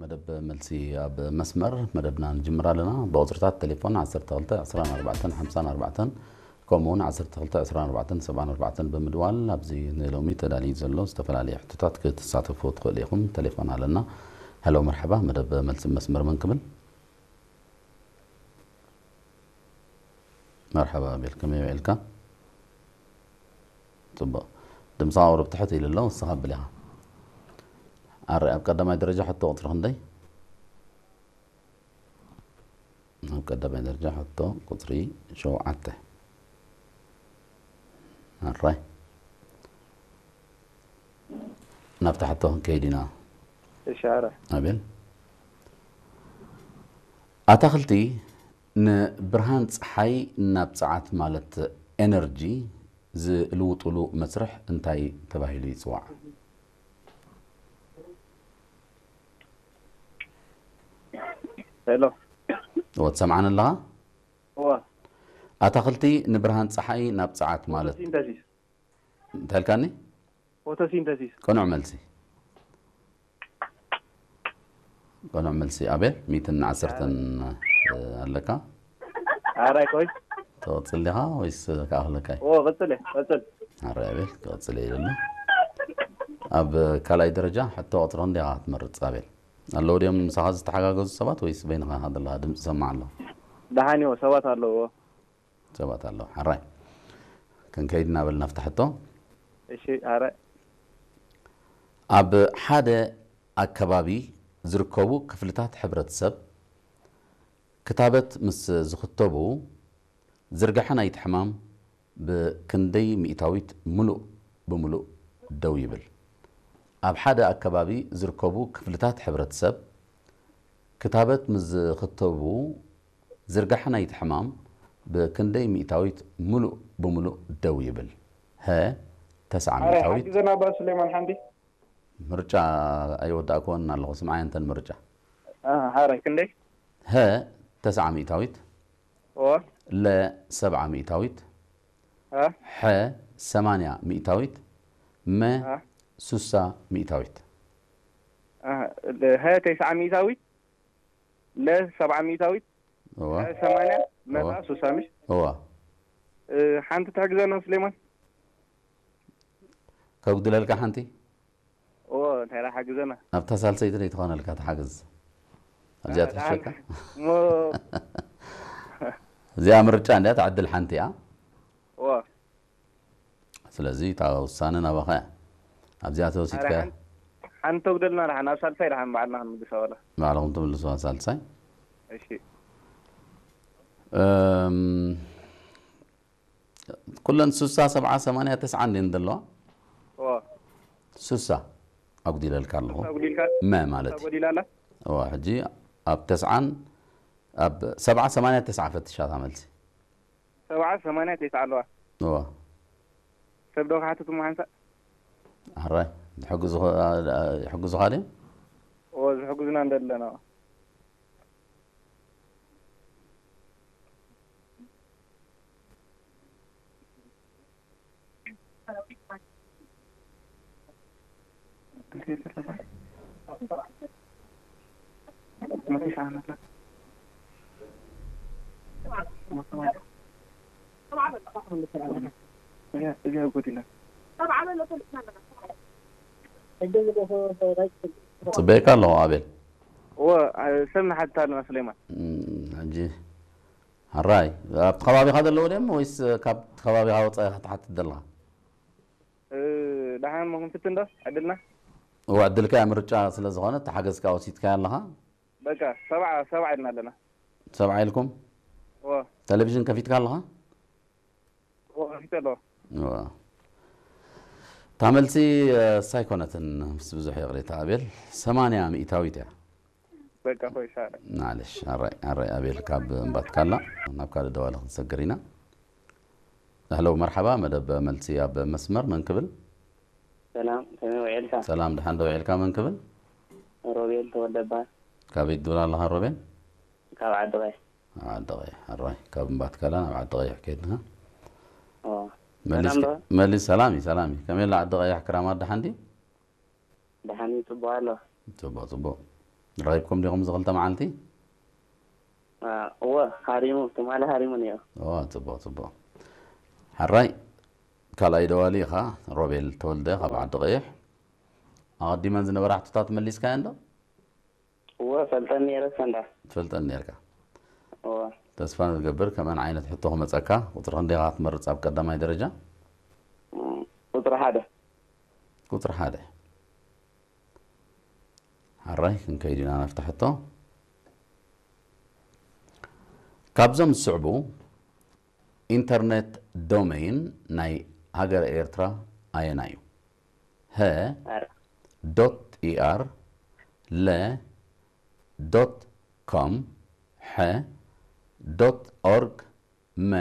መደብ መልሲ ኣብ መስመር መደብና ንጅምር ኣለና። ብቑጽርታት ቴሌፎን ዓሰርተ ክልተ ዕስራን ኣርባዕተን ሓምሳን ኣርባዕተን፣ ከምኡ እውን ዓሰርተ ክልተ ዕስራን ኣርባዕተን ሰብዓን ኣርባዕተን ብምድዋል ኣብዚ ንሎሚ ተዳልዩ ዘሎ ዝተፈላለየ ሕቶታት ክትሳተፉ ትኽእሉ ኢኹም። ቴሌፎን ኣለና። ሄሎ፣ መርሓባ፣ መደብ መልሲ መስመር መን ክብል? መርሓባ ኣቤል፣ ከመይ ውዒልካ? ጽቡቕ። ድምጽኻ ቁሩብ ትሕት ኢሉ ኣሎ፣ ንስኻ ኣብል ኢኻ። ኣረ፣ ኣብ ቀዳማይ ደረጃ ሕቶ ቁጽሪ ክንደይ? ኣብ ቀዳማይ ደረጃ ሕቶ ቁጽሪ ሸውዓተ። ኣራይ። ናብታ ሕቶ ክንከይድ ኢና። እሺ፣ ኣረ። ኣቤል። ኣታኽልቲ ንብርሃን ጸሓይ ናብ ጸዓት ማለት ኤነርጂ ዝልውጥሉ መስርሕ እንታይ ተባሂሉ ይጽዋዕ? ሄሎ። እወ፣ ትሰምዓኒ ኣለኻ? እወ። ኣታኽልቲ ንብርሃን ጸሓይ ናብ ጸዓት ማለት ፎቶሲንተሲስ። እንታይ ኢልካኒ? ፎቶሲንተሲስ። ቅኑዕ መልሲ። ቅኑዕ መልሲ። ኣቤል፣ ሚእትን ዓሰርተን ኣለካ። ኣራይ፣ ቆይ። ትቕጽል ዲኻ ወይስ ክኣኽለካ እዩ? ኦ፣ ቀጽል እየ፣ ቀጽል። ኣራይ ኣቤል፣ ክቕጽል እየ ኢለሉ። ኣብ ካልኣይ ደረጃ ሕቶ ቁጽሪ ክንደይ ኢኻ ትመርጽ ኣቤል? ኣለዉ ድዮም ምሳኻ ዝተሓጋገዙ ሰባት ወይስ በይንኻ ኢኻ ዘለኻ? ድምጺ ሰማዕ ኣሎ። ደሓን እዮ፣ ሰባት ኣለዎ። ሰባት ኣለዉ። ሓራይ። ክንከይድ እናበልና ናብታ ሕቶ። እሺ፣ ኣረ። ኣብ ሓደ ኣከባቢ ዝርከቡ ክፍልታት ሕብረተሰብ ክታበት ምስ ዝኽተቡ፣ ዝርጋሐ ናይቲ ሕማም ብክንደይ ሚእታዊት ምሉእ ብምሉእ ደው ይብል? ኣብ ሓደ ኣከባቢ ዝርከቡ ክፍልታት ሕብረተሰብ ክታበት ምስ ዝኽተቡ፣ ዝርጋሐ ናይቲ ሕማም ብክንደይ ሚእታዊት ምሉእ ብምሉእ ደው ይብል? ሀ፣ ተስዓ ሓራይ፣ ሚእታዊት። ሓግዘና ባ ሱሌማን ሓንቲ። ምርጫ ኣይወዳእክዎን ኣለኹ፣ ስምዓይ እንተን ምርጫ። አ፣ ሓራይ፣ ክንደይ? ሀ፣ ተስዓ ሚእታዊት። ኦ። ለ፣ ሰብዓ ሚእታዊት። አ። ሐ፣ ሰማንያ ሚእታዊት። መ፣ አ። ሱሳ ሚእታዊት። አ፣ ለ፣ ሀ፣ ተስዓ ሚእታዊት። ለ፣ ሰብዓ ሚእታዊት። እዋ። ሀ፣ ሰማንያ፣ መ፣ እዋ። ሱሳ፣ ምሽ? እዋ። እ፣ ሓንቲ ትሕግዘና ሱሌማን? ከጉድለልካ ሓንቲ? ኦ፣ እንታይ ደኣ ሓግዘና? ኣብታ ሳልሰይቲ ደይ ትኾነልካ ትሓግዝ? ኣብዚኣ አ፣ ትሕሸካ? ደሓን። ሞ- እዚኣ ምርጫ እንድያ፣ እታ ዕድል ሓንቲ እያ። ኦ። ስለዚ እታ ውሳነ ናባኻ እያ። ኣብዚኣ ተወሲድካ ኣረ፣ ሓን-፣ ሓንቲ ተጉደልና ደሓን፣ ኣብ ሳልሳይ ደሓን ባዕልና ክንምልሳ ዋላ። ባዕልኹም ትምልስዋ ሳልሳይ። እሺ። እም፣ ኩለን ሱሳ፣ ሰብዓ፣ ሰማንያ፣ ተስዓ እንድየን ዘለዋ። እወ። ሱሳ ኣጉዲለልካ ኣለኹ። ሱሳ ኣጉዲልካ? መ ማለት ሱሳ እዩ። ጎዲላ ኣላ? እወ፣ ሕጂ ኣብ ተስዓን ኣብ ሰብዓ፣ ሰማንያ፣ ተስዓ ፈትሻታ መልሲ። ሰብዓ፣ ሰማንያ፣ ተስዓ ኣለዋ። እወ። ሰብ ዶ ክሓትት እሞ ሓንሳእ? ሕራይ፣ ዝሕግዙ-፣ ይሕግዙኻ ድዮም? እወ፣ ዝሕግዙና እንደ ኣለና። ጽበየካ ኣለኹ ኣቤል። እወ፣ አ-፣ ሰብ ንሓትት ኣለና፣ ሱሌማን። እም፣ ሕጂ፣ ሕራይ፣ ኣብቲ ከባቢኻ ዘለዉ ድዮም ወይስ ካብቲ ከባቢኻ ወጻኢ ኢኻ ትሓትት ዘለኻ? እ፣ ደሓን እሞ ክንፍትን ዶ ዕድልና? እወ፣ ዕድልካ እያ፣ ምርጫ ስለ ዝኾነ፣ እቲ ሓገዝካ ወሲድካዮ ኣለኻ። በቃ፣ ሰብዓ፣ ሰብዓ ኢልና ኣለና። ሰብዓ ኢልኩም? እወ። ቴሌቪዥን ከፊትካ ኣለኻ? እወ፣ ከፊተ ኣለኹ። እወ። እታ መልሲ፣ እ፣ እሳ ኣይኮነትን፣ ምስ ብዙሕ ይቕሬታ ኣቤል፣ ሰማንያ ሚእታዊት እያ። በቃ፣ ኮይሻ። ማለሽ፣ ኣራይ፣ ኣራይ ኣቤል ካብ እምባትካላ፣ ናብ ካልእ ደዋሊ ክንሰግር ኢና። ኣህለው፣ መርሓባ፣ መደብ መልሲ ኣብ መስመር፣ መን ክብል? ሰላም፣ ከመይ ውዒልካ? ሰላም፣ ድሓን ዶ ውዒልካ፣ መን ክብል? ሮቤል ተወልደ እበሃል። ካበይ ትብል ኣለኻ ሮቤል? ካብ ዓዲ ቀይሕ። ዓዲ ቀይሕ፣ ኣራይ፣ ካብ እምባትካላ ናብ ዓዲ ቀይሕ ከይድና። ኦ፣ መሊስ-፣ ሰላም ዶ? መሊስ፣ ሰላም እዩ፣ ሰላም እዩ። ከመይ ኣሎ ዓዲ ቀይሕ፣ ክራማት ደሓን ድዩ? ደሓን እዩ፣ ጽቡቕ ኣሎ። ጽቡቕ፣ ጽቡቕ። ረኺብኩም ዲኹም ዝኽልተ መዓልቲ? እወ፣ ሃሪሙ፣ ትማሊ ሃሪሙ ነይሩ። ኦ፣ ጽቡቕ፣ ጽቡቕ። ሕራይ፣ ካልኣይ ደዋሊ ኢኻ፣ ሮቤል ተወልደ ካብ ዓዲ ቀይሕ። ኣቐዲመን ዝነበራ ሕቶታት መሊስካየን ዶ? እወ፣ ፈልጠን ነይረ ሰንዳ። ትፈልጠን ነርካ። እወ። ተስፋ ንገብር ከመን ዓይነት ሕቶ ክመጸካ። ቁጽሪ ክንደይ ኢኻ ክትመርጽ ኣብ ቀዳማይ ደረጃ? እም፣ ቁጽሪ ሓደ። ቁጽሪ ሓደ። ሕራይ፣ ክንከይድ ኢና ናብቲ ሕቶ። ካብዞም ዝስዕቡ ኢንተርኔት ዶሜይን ናይ ሃገረ ኤርትራ ኣየናይ እዩ? ሀ፣ ኣረ፣ ዶት ኢኣር፣ ለ፣ ዶት ኮም፣ ሐ፣ ዶት ኦርግ፣ መ፣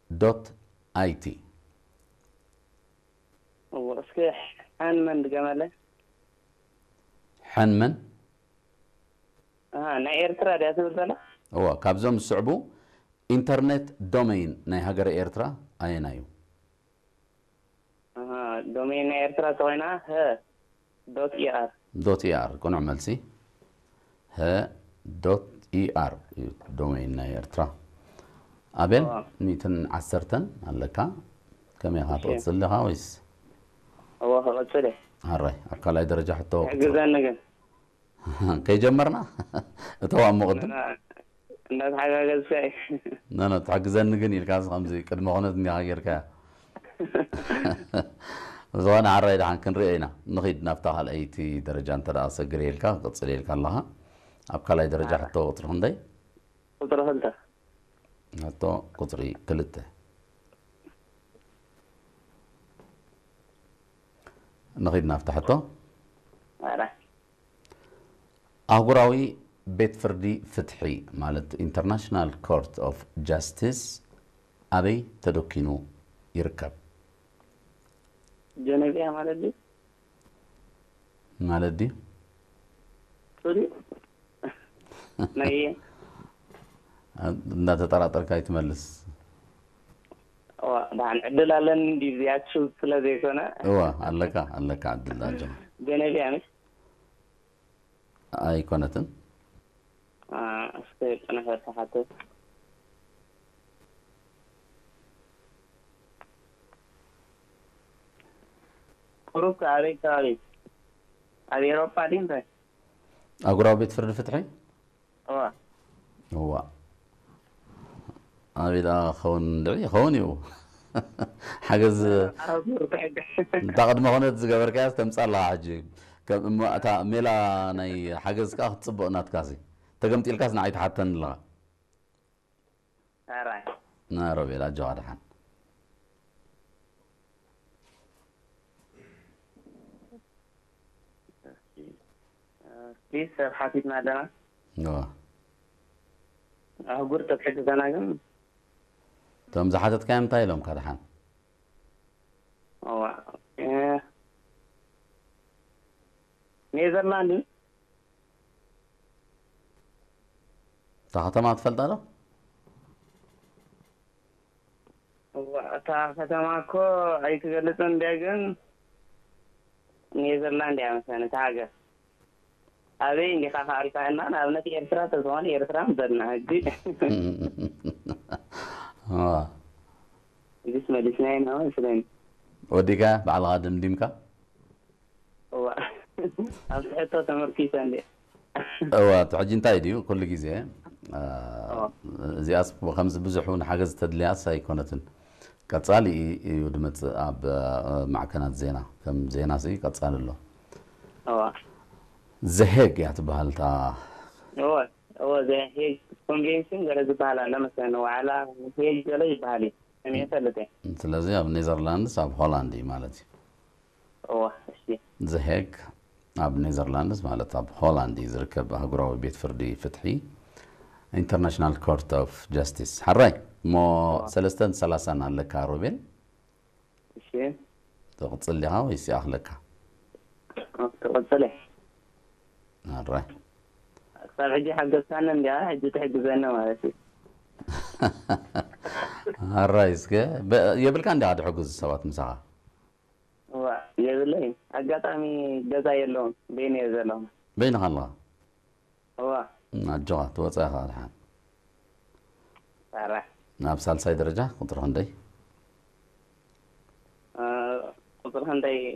ዶት ኣይቲ። እወ፣ እስኪ ሓን መን ድገመለ? ሐን መን? ኣሃ፣ ናይ ኤርትራ ድያ ትብል ዘላ? እወ፣ ካብዞም ዝስዕቡ ኢንተርኔት ዶሜይን ናይ ሃገረ ኤርትራ ኣየናይ እዩ? ኣሃ፣ ዶሜን ናይ ኤርትራ ተኾይና፣ ሀ፣ ዶት ኢኣር። ዶት ኢኣር፣ ቅኑዕ መልሲ። ሀ፣ ዶት ኢኣር እዩ ዶሜይን ናይ ኤርትራ። ኣቤል፣ እወ። ሚእትን ዓሰርተን ኣለካ። ከመይ ኢኻ እሺ። ትቕጽል ዲኻ ወይስ? እወ፣ ክቕጽል እየ። ሕራይ፣ ኣብ ካልኣይ ደረጃ ሕቶ ትሕግዘኒ ግን። ከይጀመርና? እተው ኣብ መቕድም። እና-፣ እንዳተሓጋገዝካ እዩ። ኖ፣ ኖ፣ ትሕግዘኒ ግን ኢልካ ከምዚ ቅድመ ኩነት እንዲኻ ጌርካያ። ብዝኾነ፣ ሓራይ ደሓን ክንሪኦ ኢና። ንኺድ ናብታ ካልኣይቲ ደረጃ እንተ ደኣ ሰግር ኢልካ፣ ክቕጽል ኢልካ ኣለኻ። ኣብ ካልኣይ ደረጃ ሕቶ ቁጽሪ ክንደይ? ቁጽሪ ክልተ። ሕቶ ቁጽሪ ክልተ። ንኺድ ናብታ ሕቶ። ኣረ። ኣህጉራዊ ቤት ፍርዲ ፍትሒ፣ ማለት ኢንተርናሽናል ኮርት ኦፍ ጃስቲስ፣ ኣበይ ተደኪኑ ይርከብ? ጀነቪያ ማለት ድዩ? ማለት ድዩ? ጽሩይ። ናይ እንዳተጠራጠርካ ኣይትመልስ። እዋ፣ ደሓን ዕድል ኣለኒ እንዲ እዚኣ ትሽውጥ ስለ ዘይኮነ። እዋ፣ ኣለካ፣ ኣለካ ዕድል ኣጆኻ። ጀነቪያ ነሽ? ኣይኮነትን። አ፣ እስከ ጽንሐ ተሓተ። ቁሩብ ከ ኣበይ ከባቢ? ኣብ ኤሮፓ ድዩ እንታይ? ኣህጉራዊ ቤት ፍርዲ ፍትሒ? እዋ። እዋ። ኣበይ ደኣ ክኸውን፣ ልዕሊ ይኸውን እዩ። ሓገዝ፣ ኣህጉር ትሕግዝ። እንታ ቅድመ ኩነት ዝገበርካያ ተምጻ ኣለኻ ሕጂ። ከም እሞ እታ ሜላ ናይ ሓገዝ ከኣ ክትጽብቕ ናትካሲ። ተገምጢልካስ ንዓይ ትሓተኒ ኣለኻ። ኣራይ። ና ሮቤል፣ ኣጆኻ ደሓን። ፕሊዝ ሰብ ሓቲትና ኣለና። እዋ። ኣህጉር ተትሕግዘና ግን። እቶም ዝሓተትካዮም እንታይ ኢሎምካ ደሓን? እዋ። እ፣ ኔዘርላንድ። እታ ከተማ ትፈልጣ ዶ? እዋ፣ እታ ከተማ እኮ ኣይትገልጽን እንድያ፣ ግን ኔዘርላንድ እያ መሰለኒ እታ ሃገር። ኣበይ እንዲኻ ከኣልካና፣ ንኣብነት ኤርትራ ተዝኾነ ኤርትራ ምበልና ሕጂ። እዋ። እዚስ መሊስናዮ ኢና መስለኒ። ወዲካ ባዕልኻ ደምዲምካ? እዋ። ኣብ ሕቶ ተመርኪሰ እንዴ? እዋ፣ እቲ ሕጂ እንታይ ድዩ? ኩሉ ግዜ፣ አ፣ እዋ። እዚኣስ ከምዚ ብዙሕ እውን ሓገዝ ተድልያስ ኣይኮነትን። ቀጻሊ እዩ ድመጽእ ኣብ፣ አ፣ ማዕከናት ዜና። ከም ዜናሲ ቀጻሊ ኣሎ። እዋ። ዘሄግ እያ ትበሃል እታ። እዋ፣ እዋ፣ ዘ ሄግ ኮንቬንሽን ገለ ዝበሃል ኣሎ መሰለኒ። ዋዕላ ሄግ ገለ ይበሃል እዩ። እኔ እፈልጥ እየ። ስለዚ ኣብ ኔዘርላንድስ ኣብ ሆላንድ እዩ ማለት እዩ። እዋ፣ እሺ። ዘሄግ ኣብ ኔዘርላንድስ ማለት ኣብ ሆላንድ እዩ ዝርከብ ኣህጉራዊ ቤት ፍርዲ ፍትሒ፣ ኢንተርናሽናል ኮርት ኦፍ ጃስቲስ። ሓራይ እሞ፣ ሰለስተን ሰላሳን ኣለካ ሮቤል። እሺ። ትቕጽል ዲኻ ወይስ ይኣኽለካ? ትቕጽል እየ። ኣራይ። ክሳብ ሕጂ ሓገዝካኒ እንዲያ፣ ሕጂ ትሕግዘኒ ማለት እዩ። ኣራይ፣ እስከ በ-፣ የብልካ እንዲኻ ድሕግዙ ሰባት ምሳኻ? እዋ፣ የብለይን። ኣጋጣሚ ገዛ የለውን፣ በይነ እየ ዘለኹ። በይንኻ ኣለኻ? ኣጆኻ ትወፅእ ኢኻ ድሓን። ሳራ ናብ ሳልሳይ ደረጃ ቁፅሪ ክንደይ? ቁፅሪ ክንደይ?